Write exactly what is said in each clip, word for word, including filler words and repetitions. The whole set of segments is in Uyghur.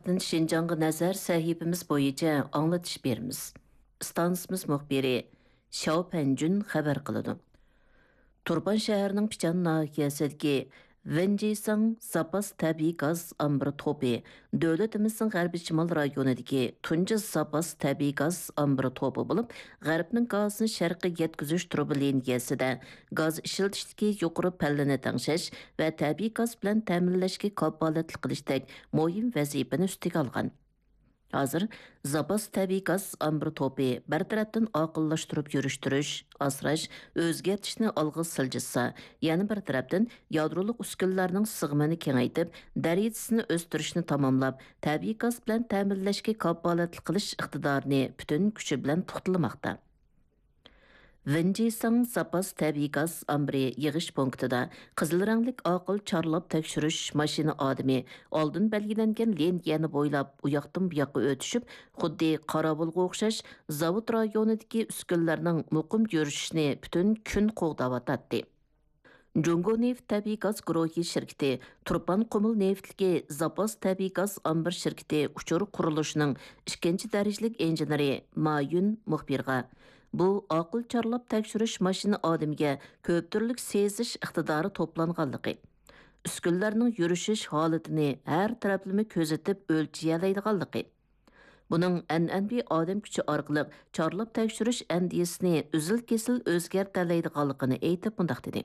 شىنجاڭغا نەزەر سەھىپىمىز بويىچە ئاڭلىتىش بېرىمىز. ئىستانسىمىز مۇخبىرى شياۋ پەنجۈن خەۋەر قىلىدۇ. تۇرپان شەھىرىنىڭ پىچان ناھىيەسىدىكى ۋېنجىساڭ زاپاس تەبىئىي گاز ئامبىرى توپى دۆلىتىمىزنىڭ غەربىي شىمال رايونىدىكى تۇنجى زاپاس تەبىئىي گاز ئامبىرى توپى بولۇپ، غەربنىڭ گازىنى شەرققە يەتكۈزۈش تۇرۇبا لىنىيەسىدە گاز ئىشلىتىشتىكى يۇقىرى پەللىنى تەڭشەش ۋە تەبىئىي گاز بىلەن تەمىنلەشكە كاپالەتلىك قىلىشتەك مۇھىم ۋەزىپىنى ئۈستىگە ئالغان. ھازىر زاپاس تەبىئىي گاز ئامبىرى توپى بىر تەرەپتىن ئاقىللاشتۇرۇپ يۈرۈشتۈرۈش، ئاسراش، ئۆزگەرتىشنى ئالغا سىلجىتسا، يەنە بىر تەرەپتىن يادرولۇق ئۈسكۈنىلەرنىڭ سىغىمىنى كېڭەيتىپ، دەرىجىسىنى ئۆستۈرۈشنى تاماملاپ، تەبىئىي گاز بىلەن تەمىنلەشكە كاپالەتلىك قىلىش ئىقتىدارىنى پۈتۈن كۈچى بىلەن پۇختىلىماقتا. ۋېنجىساڭ زاپاس تەبىئىي گاز ئامبىرى يىغىش پونكىتىدا قىزىل رەڭلىك ئاقىل چارلاپ تەكشۈرۈش ماشىنا ئادىمى ئالدىن بەلگىلەنگەن لىنىيەنى بويلاپ ئۇياقتىن بۇياققا ئۆتۈشۈپ، خۇددى قاراۋۇلغا ئوخشاش زاۋۇت رايونىدىكى ئۈسكۈنىلەرنىڭ مۇقىم يۈرۈشۈشىنى پۈتۈن كۈن قوغداۋاتاتتى. جۇڭگو نېفىت تەبىئىي گاز گۇرۇھى شىركىتى تۇرپان قۇمۇل نېفىتلىكى زاپاس تەبىئىي گاز ئامبىر شىركىتى ئۇچۇر قۇرۇلۇشىنىڭ ئىككىنچى دەرىجىلىك ئىنژېنېرى ما يۈن مۇخبىرغا، بۇ ئاقىل چارلاپ تەكشۈرۈش ماشىنا ئادىمىگە كۆپ تۈرلۈك سېزىش ئىقتىدارى توپلانغانلىقى، ئۈسكۈنىلەرنىڭ يۈرۈشۈش ھالىتىنى ھەر تەرەپلىمە كۆزىتىپ ئۆلچىيەلەيدىغانلىقى، بۇنىڭ ئەنئەنىۋى ئادەم كۈچى ئارقىلىق چارلاپ تەكشۈرۈش ئەندىزىسىنى ئۈزۈل-كېسىل ئۆزگەرتەلەيدىغانلىقىنى ئېيتىپ مۇنداق دېدى.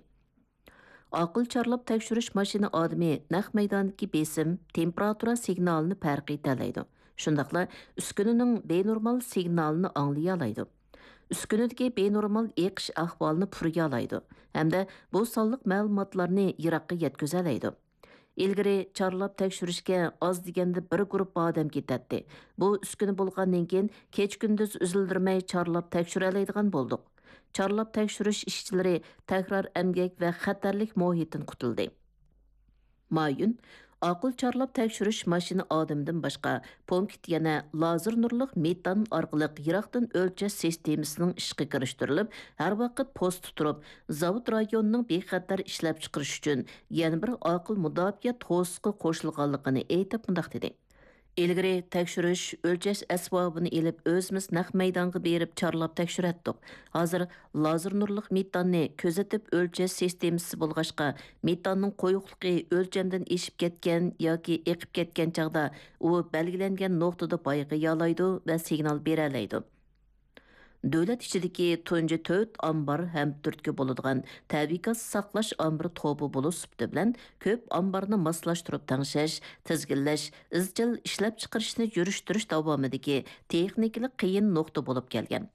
ئاقىل چارلاپ تەكشۈرۈش ماشىنا ئادىمى نەق مەيداندىكى بېسىم، تېمپېراتۇرا سىگنالىنى پەرقىيتەلەيدۇ. شۇنداقلا ئۈسكۈنىنىڭ بىنورمال سىگنالىنى ئاڭلىيالايدۇ. ئۈسكۈنىدىكى بىنورمال ئېقىش ئەھۋالىنى پۇرىيالايدۇ ھەمدە بۇ سانلىق مەلۇماتلارنى يىراققا يەتكۈزەلەيدۇ. ئىلگىرى چارلاپ تەكشۈرۈشكە ئاز دېگەندە بىر گۇرۇپپا ئادەم كېتەتتى. بۇ ئۈسكۈنە بولغاندىن كېيىن كېچە-كۈندۈز ئۈزۈلدۈرمەي چارلاپ تەكشۈرەلەيدىغان بولدۇق. چارلاپ تەكشۈرۈش ئىشچىلىرى تەكرار ئەمگەك ۋە خەتەرلىك مۇھىتتىن قۇتۇلدى. مايۈن ئاقىل چارلاپ تەكشۈرۈش ماشىنا ئادىمىدىن باشقا، پونكىت يەنە لازېر نۇرلۇق مېتان ئارقىلىق يىراقتىن ئۆلچەش سىستېمىسىنىڭ ئىشقا كىرىشتۈرۈلۈپ، ھەر ۋاقىت پوستتا تۇرۇپ، زاۋۇت رايونىنىڭ بىخەتەر ئىشلەپچىقىرىش ئۈچۈن يەنە بىر ئاقىل مۇداپىئە توسۇقى قوشۇلغانلىقىنى ئېيتىپ مۇنداق دېدى. ئىلگىرى تەكشۈرۈش، ئۆلچەش ئەسۋابىنى ئېلىپ، ئۆزىمىز نەق مەيدانغا بېرىپ چارلاپ تەكشۈرەتتۇق. ھازىر لازېر نۇرلۇق مېتاننى كۆزىتىپ ئۆلچەش سىستېمىسى بولغاچقا، مېتاننىڭ قويۇقلۇقى ئۆلچەمدىن ئېشىپ كەتكەن ياكى ئېقىپ كەتكەن چاغدا ئۇ بەلگىلەنگەن نۇقتىدا بايقىيالايدۇ ۋە سىگنال بېرەلەيدۇ. دۆلەت ئىچىدىكى تۇنجى تۆت ئامبار ھەم تۈرتكە بولىدىغان تەبىئىي گاز ساقلاش ئامبىرى توپى بولۇش سۈپىتى بىلەن، كۆپ ئامبارنى ماسلاشتۇرۇپ تەڭشەش، تىزگىنلەش، ئىزچىل ئىشلەپچىقىرىشنى يۈرۈشتۈرۈش داۋامىدىكى تېخنىكىلىق قىيىن نۇقتا بولۇپ كەلگەن.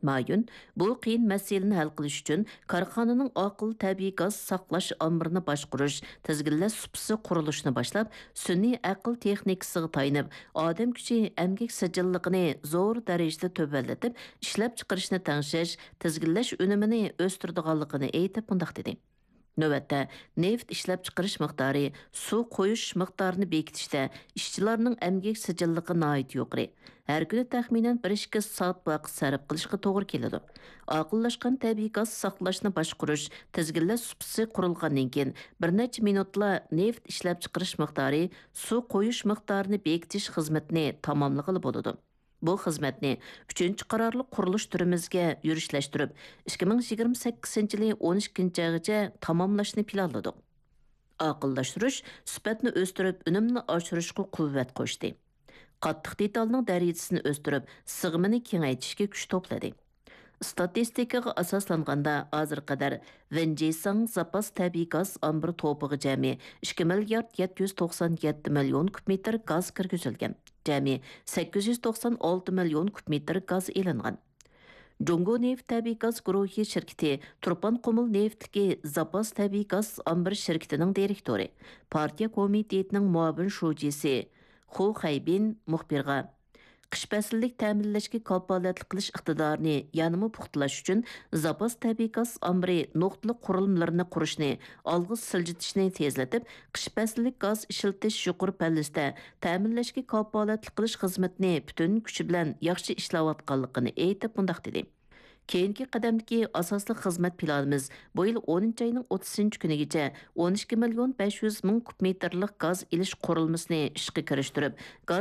مايۈن بۇ قىيىن مەسىلىنى ھەل قىلىش ئۈچۈن كارخانىنىڭ ئاقىل تەبىئىي گاز ساقلاش ئامبىرىنى باشقۇرۇش، تىزگىنلەش سۇپىسى قۇرۇلۇشىنى باشلاپ، سۈنئىي ئەقىل تېخنىكىسىغا تايىنىپ، ئادەم كۈچى ئەمگەك سىجىللىقىنى زور دەرىجىدە تۆۋەنلىتىپ، ئىشلەپچىقىرىشنى تەڭشەش، تىزگىنلەش ئۈنۈمىنى ئۆستۈرىدىغانلىقىنى ئېيتىپ مۇنداق دېدى. نۆۋەتتە، نېفىت ئىشلەپچىقىرىش مىقدارى، سۇ قويۇش مىقدارىنى بېكىتىشتە ئىشچىلارنىڭ ئەمگەك سىجىللىقى ناھايىتى يۇقىرى. ھەر كۈنى تەخمىنەن بىر ئىككى سائەت ۋاقىت سەرپ قىلىشقا توغرا كېلىدۇ. ئاقىللاشقان تەبىئىي گاز ساقلاشنى باشقۇرۇش، تىزگىنلەش سۇپىسى قۇرۇلغاندىن كېيىن، بىر نەچچە مىنۇتلا نېفىت ئىشلەپچىقىرىش مىقدارى، سۇ قويۇش مىقدارىنى بېكىتىش خىزمىتىنى تاماملىغىلى بولىدۇ. بۇ خىزمەتنى ئۈچىنچى قارارلىق قۇرۇلۇش تۈرىمىزگە يۈرۈشلەشتۈرۈپ، ئىككى مىڭ يىگىرمە سەككىزىنچى يىلى ئون ئىككىنچى ئايغىچە تاماملاشنى پىلانلىدۇق. ئاقىللاشتۇرۇش سۈپەتنى ئۆستۈرۈپ، ئۈنۈمنى ئاشۇرۇشقا قۇۋۋەت قوشتى. قاتتىق دېتالنىڭ دەرىجىسىنى ئۆستۈرۈپ، سىغىمىنى كېڭەيتىشكە كۈچ توپلىدى. ئىستاتىستىكىغا ئاساسلانغاندا، ھازىرغا قەدەر ۋېنجىساڭ زاپاس تەبىئىي گاز ئامبىرى توپىغا جەمئىي ئىككى مىليارد يەتتە يۈز توقسان يەتتە مىليون كۇب مېتىر گاز كىرگۈزۈلگەن. جەمئىي سەككىز يۈز توقسان ئالتە مىليون كۇب مېتىر گاز ئېلىنغان. جۇڭگو نېفىت تەبىئىي گاز گۇرۇھى شىركىتى تۇرپان قۇمۇل نېفىتلىكى زاپاس تەبىئىي گاز ئامبىر شىركىتىنىڭ دىرېكتورى، پارتىيە كومىتېتىنىڭ مۇئاۋىن شۇجىسى خۇ خەيبىن مۇخبىرغا، قىش پەسلىدىك تەمىنلەشكە كاپالەتلىك قىلىش ئىقتىدارىنى يەنىمۇ پۇختىلاش ئۈچۈن، زاپاس تەبىئىي گاز ئامبىرى نۇقتىلىق قۇرۇلمىلىرىنى قۇرۇشنى ئالغا سىلجىتىشنى تېزلىتىپ، قىش پەسلىك گاز ئىشلىتىش يۇقىرى پەللىسىدە تەمىنلەشكە كاپالەتلىك قىلىش خىزمىتىنى پۈتۈن كۈچى بىلەن ياخشى ئىشلەۋاتقانلىقىنى ئېيتىپ مۇنداق دېدى: كېيىنكى قەدەمدىكى ئاساسلىق خىزمەت پىلانىمىز، بۇ يىل ئونىنچى ئاينىڭ ئوتتۇزىنچى كۈنىگىچە ئون ئىككى مىليون بەش يۈز مىڭ كۇب مېتىرلىق گاز ئېلىش قۇرۇلمىسىنى ئىشقا كىرىشتۈرۈپ، گاز